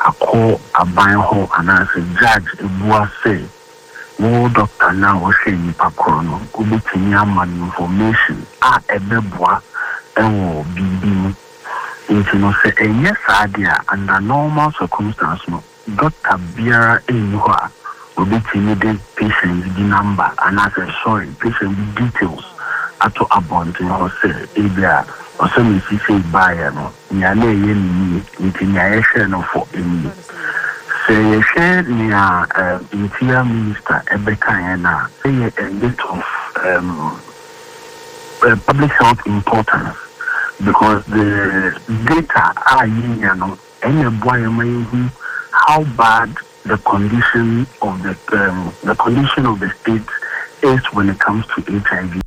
Akɔ aban hɔ anaasɛ judge ebua sɛ wo doctor no a ɔhwɛ nipa korɔ no, wobɛtumi ama no information a ɛbɛboa ɛwɔ biribi mu. Nti no, sɛ ɛnyɛ saa deɛ a, under normal circumstance no, doctor biara nni hɔ a obɛtumi de patient bi number anaasɛ, sorry, patient bi details ato abɔnten hɔ sɛ ebi a ɔsɛ mesi sei baeɛ no, nea na ɛyɛ ne nie, nti nea yɛhwɛ no fɔ nie. Sɛ yɛhwɛ nea Interior Minister ɛbɛkaeɛ no a, ɛyɛ a bit of public health importance, because the data a yɛnya no, ɛna ɛboa yɛn ma yɛhu how bad the condition of the state is when it comes to HIV.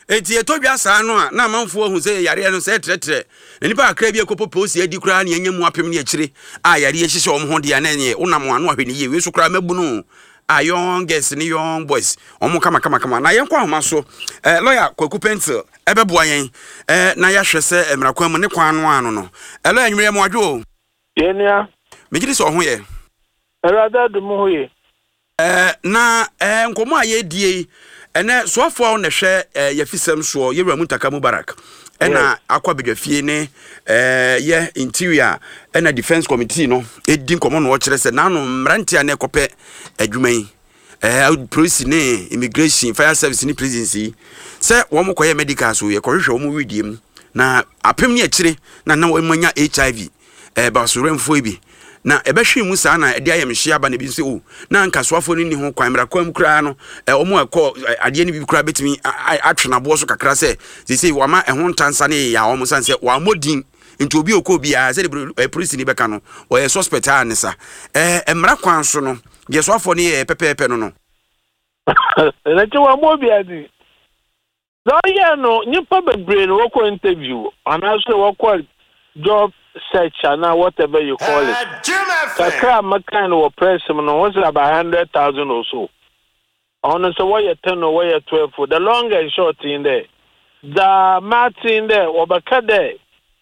Eti ɛtɔ dwa saa no a, na amanfoɔ ahu sɛ yareɛ no sɛ ɛtrɛtrɛ na nipa kakra bi akɔpɔ polisi adi koraa ne anya mu apem ne akyire a yareɛ hyehyɛ wɔn ho deɛ, na ɛneɛ wonam ano ahwɛ ne yie. Wei so koraa mabunu a, young girls ne young boys, wɔn kama kama kama. Na yɛnkɔ ahoma so, lawyer Kwaku Pencil ɛbɛboa yɛn na yɛahwɛ sɛ mmara kwan mu ne kwan no ano no. Lawyer, nwummerɛ mu adwo o. Yɛnua. Megye di sɛ ɔho yɛ. Awurade adom ho ye. Na nkɔmmɔ a yɛredie yi ɛnɛ, soafoɔ a na ɛhwɛ yɛfisɛm soɔ, yɛwura Muntaka Mubarak, ɛna akɔ abadwafie ne yɛ Interior ɛna Defence Committee no ɛdi nkɔmmɔ na ɔkyerɛ sɛ n'ano mmeranteɛ a na ɛkɔpɛ adwuma yi, polisi ne immigration, fire service ne prisons yi, sɛ wɔn kɔyɛ medical so, yɛkɔhwehwɛ wɔn widie mu na apem ne akyire na wɔn anya HIV basowerɛmfoɔ yi bi na ɛbɛhwee mu saa na ɛde ayɛmhyɛ aba. Na ebi nso o, na anka soafoɔ no nni ho kwan mmara kwan mu koraa no, wɔn a ɛkɔ adeɛ no bi koraa bɛtumi atwe n'aboɔ so kakra sɛ seesei wɔama ɛho ntansa ne yɛ a wɔn san sɛ wɔammɔ din, nti obi okɔ obiara sɛde polisini bɛka no, ɔyɛ suspect a ne sa mmara kwan so no deɛ, soafoɔ no yɛ pɛpɛɛpɛ no. Ɛnkyɛ wɔammɔ obiara din na ɔyɛ no, nyimpa bebree na wɔkɔ interview anaasɛ wɔkɔ job search anaa whatever you call it. Kakra a mɛkan no wɔ press mu no, wɔn sɛ about 100,000 or so. Ɔno sɛ wɔyɛ 10 or wɔyɛ 12, the long and short in dɛ, dza maten dɛ wɔbɛka dɛ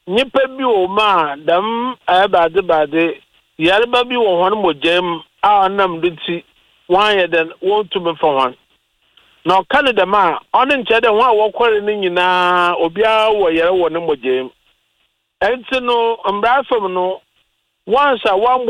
nyimpa bi wɔ mu a dɛm ɛyɛ baadze yarba bi wɔ hɔn mogya mu a ɔnam do nti wɔanyɛ dɛn wɔntumi fa hɔn. Na ɔka no dɛm a, ɔno nkyerɛ dɛ hɔn a wɔkɔre no nyinaa obiara wɔ yar wɔ ne mogya mu. Nti no, mbra fam no, once a wɔambɔ